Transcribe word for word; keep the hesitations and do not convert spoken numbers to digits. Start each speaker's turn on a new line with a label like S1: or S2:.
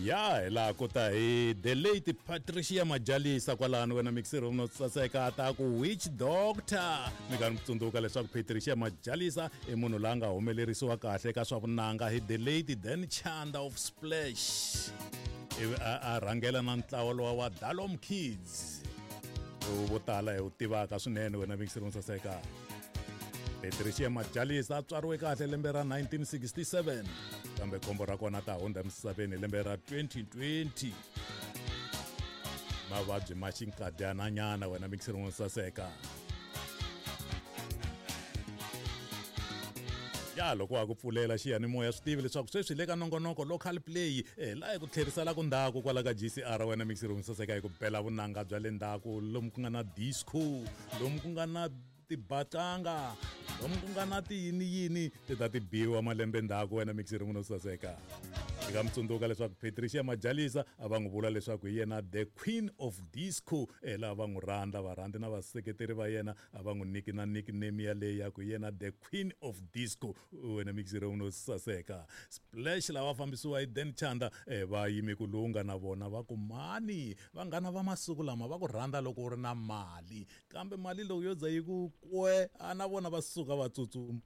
S1: Ya hi laha ku ta hi the late Patricia Majalisa kwalano wena mixer no saseka ta ku Witch Doctor. Mi nga mi tsundzuka leswaku Patricia Majalisa i munhu la nga humelerisiwa kahle ka swa vunanga hi the late Dan Chanda of Splash, ivi a a rhangela na ntlawa lowa wa Dalom Kids lowu vo tala hi wu tivaka swinene wena mixer no saseka. Patricia Majalisa a tswariwe kahle lembe ra nineteen sixty-seven, kambe khombo ra kona ta hundza emisaveni hi lembe ra twenty twenty. Mavabyi ma xinkadyananyana wena mixer no saseka. Ya loko wa ku pfulela xiyanimoya swi tivi leswaku sweswi le ka nongonoko local play eh, laha hi ku tlherisela ku ndzhaku kwala ka G C R wena mixer no saseka hi ku bela vunanga bya le ndzhaku lomu ku nga na disco, lomu ku nga na tibatanga, lomu ku nga na tiyini yini ti ta ti biwa malembe ndzhaku wena mixer no saseka. Hi nga mi tsundzuka leswaku Patricia Majalisa a va n'wi vula leswaku hi yena the queen of disco, eh, laha va n'wi rhandza varhandzi na vaseketeri va yena a va n'wi nyiki na nickname yaleyo ya ku yena the queen of disco wena mixer no saseka. Splash lava fambisiwa hi Dan Chanda, eh, va yime ku lunga na vona va ku mani vanghana va masiku lama va ku rhandza loko u ri na mali, kambe mali loko yo za yi ku kwe a na vona va suka va tsutsuma.